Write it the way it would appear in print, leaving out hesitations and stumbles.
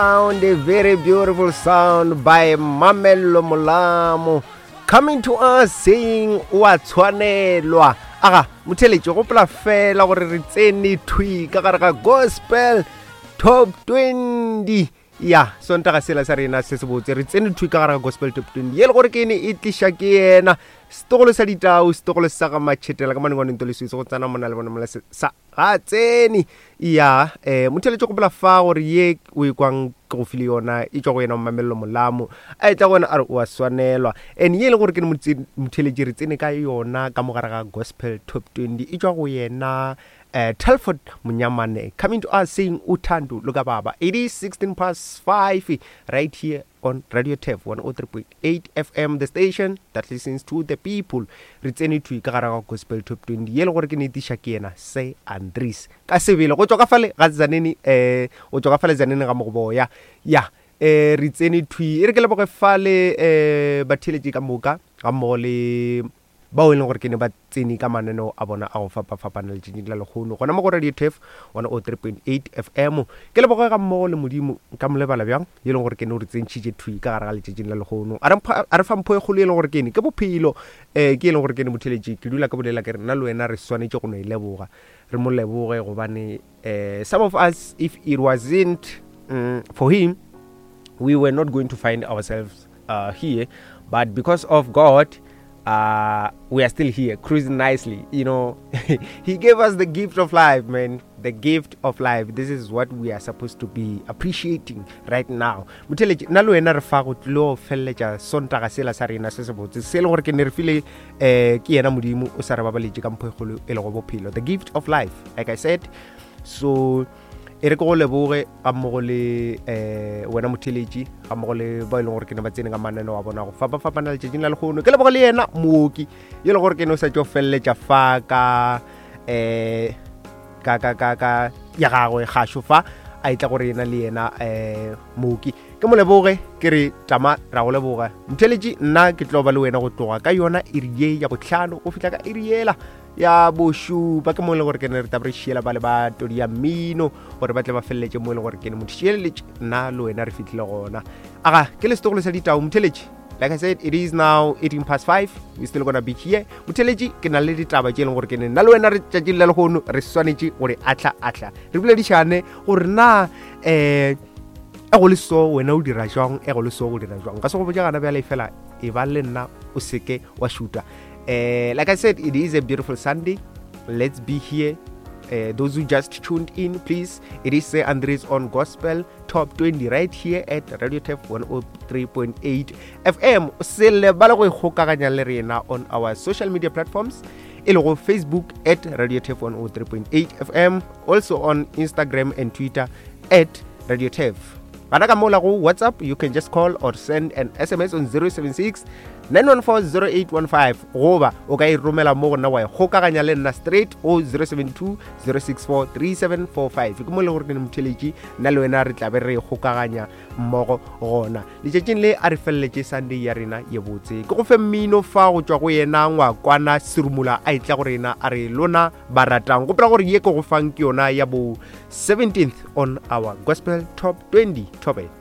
Sound, a very beautiful sound by Mamello Molamo coming to us saying o a tshwanelwa. Aga, motheletši gopola fela gore re tsene thwi ka gare ga gospel top 20 ya sontaga sela sa rena se se botse re tsene thwi ka gare ga gospel top 20 ye le gore ke ene e tliša ke yena setogolo sa ditau setogolo sa ga matšhetela ka manengwaneng toleswetse go tsena mona le bona mola sa Ga a tsene. Ya, eh, motheletši gopola fa gore ye o e kwang ke go file yona e tšwa go yena Mamello Molamo. A etla go wena a re o a swanelwa. And ye e le gore ke motheletši re tsene ka yona ka mo gare ga Gospel Top 20 e tšwa go yena eh, Telford Monyamane coming to us saying uthando luka baba. It is 16 past 5 right here on Radio Turf 103.8 FM, the station that listens to the people. Re tsene thwi ka gare ga Gospel Top 20 ye le gore ke netiša ke yena Sir Andries ka sebele go tšwa ka fale ga Tzaneen eh go tšwa ka fale Tzaneen ga Mogoboya ya eh re tsene thwi e re ke leboge fale eh batheeletši ka moka ga mmogo le bao e leng gore ke ne ba tsene ka mananeo a bona a go fapafapana letšatšing la lekgono gona mo go Radio Turf 103.8 FM. Ke leboge ga mmogo le Modimo nka mo lebala bjang ye e leng gore ke ne o re tsentšhitše thwi ka gare ga letšatšing la lekgono a re fa mpho e kgolo ye e leng gore ke ne ke bophelo um ke e leng gore ke ne motheletši ke dula ke bolela ke re nna le wena re swanetše go no e leboga re mo leboge gobane um some of us if it wasn't um, for him we were not going to find ourselves uh, here but because of God uh, we are still here cruising nicely you know he gave us the gift of life man the gift of life this is what we are supposed to be appreciating right now motheletši nna le wena re fa go tlilo feleletša sontaga sela sa rena se se botse se e le gore ke ne re file um ke yena modimo o sa re babaletše ka mpho e kgolo e lego bophelo the gift of life like i said so e re ke go leboge ga mmogo le um wena motheletši ga mmogo le ba e leng gore ke ne ba tsene ka mananeo a bona go fapafapana letšatšing la legono ke leboge le yena mooki yo e le gore ke ne o sa tšo feleletša fa ka um ka ka ka ka ya gagwe gašo fa a etla gore yena le yena um mooki ke mo leboge ke re tama ra go leboga motheletši nna ke tlo ba le wena go tloga ka yona iri ye ya botlhano go fihla ka iri yela ya bošupa ke mo e leng gore ke ne re tabe re šiela ba le ba todi ya mmino gore ba tle ba feleletše mo e leng gore ke ne motho šieleletše nna le wena re fitlhile gona aga ke le setogolo sa ditao motheletše like i said it is now 18 past 5 we still gonna be here motheletši ke na le ditaba tše e leng gore ke ne nna le wena re tšatšing la lehono re swanetše gore ahla ahla re boledišane gore na um e go le so wena o dira jwang e go le so go dira jwang ka se go botša gana bjale fela e ba le nna o seke wa šuta Uh, like I said, it is a beautiful Sunday. Let's be here. Uh, those who just tuned in, please, it is Sir Andres on Gospel Top 20 right here at Radio Turf 103.8 FM. Se lebale go ikgokaganya le rena on our social media platforms e lego Facebook at Radio Turf 103.8 FM, also on Instagram and Twitter at Radio Turf. Gana ka mola go WhatsApp, you can just call or send an SMS on 076 9140815 goba o ka e romela mo go nna wa e kgokaganya le nna straight go 072 064 3745 ke mo e le gore ke ne motheletši nna le wena re tlabe re e kgokaganya mmogo gona letšatšing le a re feleletše sunday ya rena ye botse ke go fe mmino fa go tšwa go yena ngwakwana serumula a etla go rena a re lona ba ratang gopola gore ye ke go fang ke yona ya bo 17th on our gospel top 20 topic.